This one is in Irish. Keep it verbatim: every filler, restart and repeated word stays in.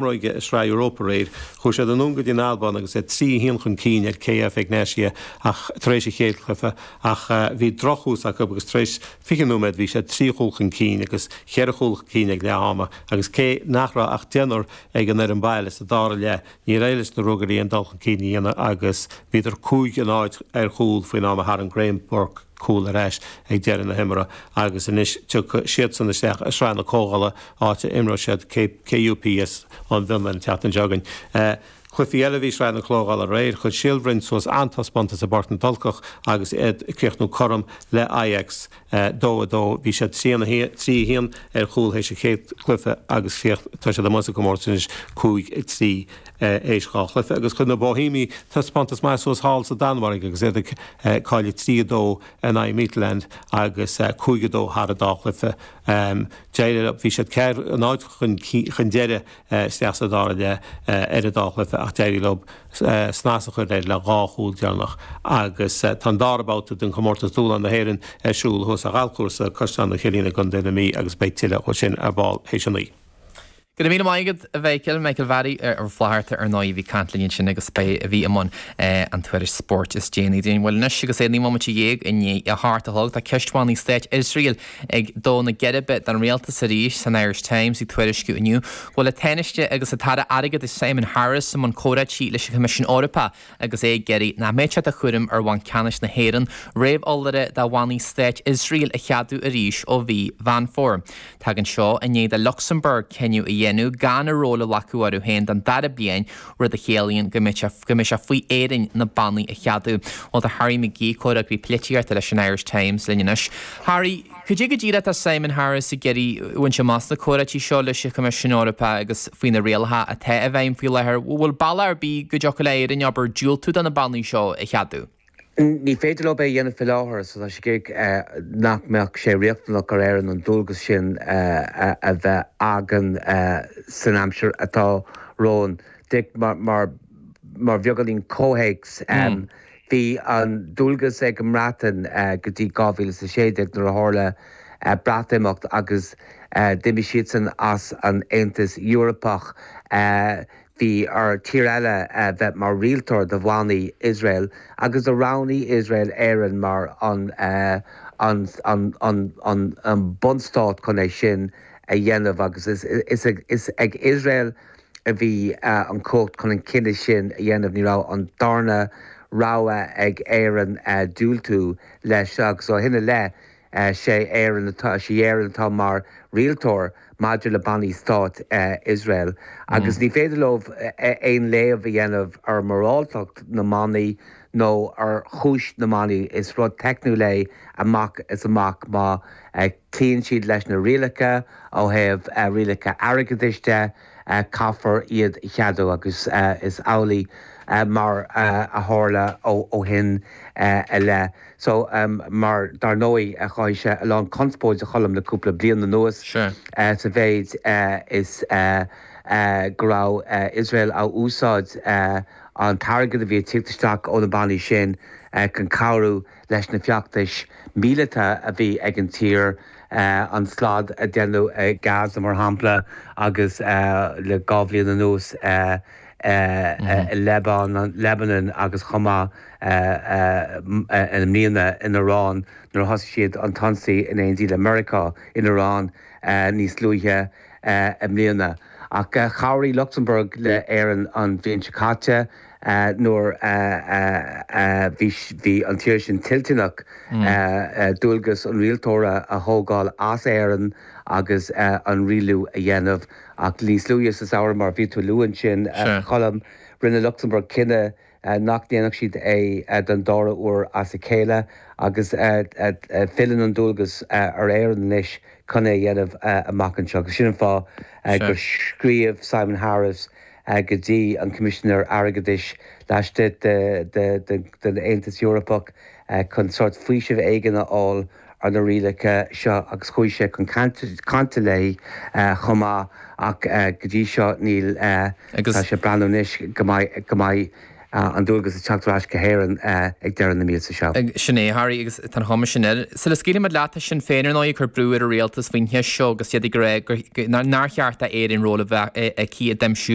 Imreoidh i Sraith Europa aréir. Chuaigh siad anonn go dtí an Albáin agus iad trí a haon chun cinn ar KF Egnatia ach tar éis an chéad chluiche ach bhí drochthús acu agus tar éis fiche nóiméad bhí siad trí chúl chun cinn agus cheithre chúl chun cinn ag leath ama agus cé nach raibh ach deichniúr ag an fhoireann baile sa dara leath níor éirigh leis na Ruagairí an dul chun cinn a dhéanamh agus bhíodar cúig a náid ar chúl faoin am a tharraing Graham Burke cúl ar ais ag deireadh na himeartha agus anois tiocfaidh siadsan isteach i Sraith na Comhdhála, áit a imreoidh siad KUPS ón bhFionlainn an tseachtain seo chugainn. Cluichí eile a bhí i Sraith na Comhdhála aréir, chuir Síol Bhroin suas an-taispeántas i bPáirc na dTulcach agus iad ag críochnú cothrom le Ajax dó a dó. Bhí siad trí a haon ar chúl théis an chéad chluiche agus tá siad amuigh sa gcomórtas anois cúig a trí. Théis dhá chluiche agus chuir na Boihéamaigh taispeántas maith suas thall sa Danmhairg agus iad ag cailleadh trí a dó in aghaidh Midtjylland agus cúig a dó thar an dá chluiche. D'éirigh leo, bhí siad ceathair a náid chun deiridh isteach sa dara leath ar an dá chluiche ach d'éirigh leo snas a chur air le dhá chúl deireanach agus tá an dara babhta den chomórtas Dúshlán na hÉireann ar siúl thuas ar ghalfchúrsa Caisleán an Choillín i gContae na Mí agus beidh tuilleadh dhó sin ar ball théis a naoi. Go raibh míle maith agat, a Mhichael, Michael Mhary Ó Flatharta ar ndóigh a bhí ag caint linn ansin agus b'é a bhí i mbun an tuairisc spóirt is déanaí dúinn. Bhuel anois agus é naoi mbomaite dhéag i ndiaidh a hocht a chlog tá ceist bhannaí stáit Iosrael ag dó na geirbe don rialtas arís san Irish Times ag tuairisciú inniu go bhfuil an Tánaiste agus an tAire Airgeadais Simon Harris i mbun comhráití leis an Choimisiún Eorpach agus é ag iarraidh nach mbeadh sé de chúram ar Bhanc Ceannais na hÉireann réamheolaire do bhannaí stáit Iosrael a cheadú arís ó mhí Mheán Fómhair. Tagann seo i ndiaidh do Lucsamburg cinneadh a dhéanamh gan a ról a ghlacadh orthu féin don dara bliain, rud a chiallaíonn go mbeidh sé go mbeidh sé faoi Éirinn na bannaí a cheadú. Bhuel tá Harry McGee, comhfhreagraí polaitíochta leis an Irish Times linn anois. Harry, cad é go díreach atá Simon Harris ag iarraidh a bhaint amach sna comhráití seo leis an Choimisiún Eorpach agus faoi na rialacha atá i bhfeidhm faoi láthair, bhfuil bealach ar bith go dtiocfadh le Éirinn abair diúltú do na bannaí seo a cheadú? Ní féidir leo é a dhéanamh faoi láthair so tá sé ag iarraidh nach mbeadh sé riachtanach ar Éirinn an dualgas sin a bheith againn san aimsir atá romhainn. Dick, mar mar bheagáinín comhthéacs, bhí an dualgas ag an mBreatain go dtí dhá mhíle is a sé déag nuair a tharla Breatimeacht agus d'imigh siadsan as an Aontas Eorpach. Bhí ar tír eile bheith mar rialtóir do bhannaí Iosrael agus do roghnaigh Iosrael Éirinn mar an an an bunstát chun é sin a dhéanamh agus is is ag Iosrael a bhí an chumhacht chun an cinneadh sin a dhéanamh. Ní raibh an darna rogha ag Éirinn diúltú leis agus ó shin i leith sé Éirinn atá sí Éirinn atá mar rialtóir maidir le bannaí stáit Iosrael agus ní féidir leo aon léamh a dhéanamh ar mhoráltacht na mbannaí nó ar chúis na mbannaí. Is rud teicniúil é amach is amach má chloíonn siad leis na rialacha ó thaobh rialacha airgeadais de, caithfear iad a cheadú agus is amhlaidh mar a tharla ó shin i leith. So mar dar ndóigh chruthaigh sé a lán conspóid a Choilm le cúpla bliain anuas sa mhéid is go raibh Iosrael á úsáid an t-airgead a bhí ag tíocht isteach ó na bannaí sin chun cabhrú leis na feachtais míleata a bhí ag an tír, an slad a déanadh i Gaza mar shampla agus le dhá bhliain anuas i Lebanon agus chomh maith i mbliana in Iran nuair a thosaigh siad an t-ionsaí in éindí le Meiriceá in Iran níos luaithe i mbliana. Ach chabhraigh Lucsamburg le Éirinn an bhliain seo caite nuair a bhí an tír sin toilteanach dualgas an rialtóra a thógáil as Éirinn agus an rialú a dhéanamh. Ach níos luaithe sa samhradh, mar a bhí tú a lua ansin, a Choilm, rinne Lucsamburg cinneadh nach ndéanfadh siad é den dara huair as a chéile agus filleann an dualgas ar Éirinn anois chun é a dhéanamh amach anseo. Agus sin an fáth gur scríobh Simon Harris go dtí an Coimisinéir Airgeadais laistigh den Aontas Eorpach chun sórt faoiseamh éigin a fháil ar na rialacha seo agus chuaigh sé chun cainte léi chomh maith ach go dtí seo níl, tá sé ag breathnú anois go mbeidh go mbeidh an dualgas ag teacht ar ais go hÉirinn ag deireadh na míosa seo. Sin é, Harry, agus tá an chuma sin air. Sula scaoilfimid leat, tá Sinn Féin ar ndóigh ag cur brú ar an rialtas faoin cheist seo agus iad ag rá nár cheart d'Éirinn ról a bheith aici i dtaibhsiú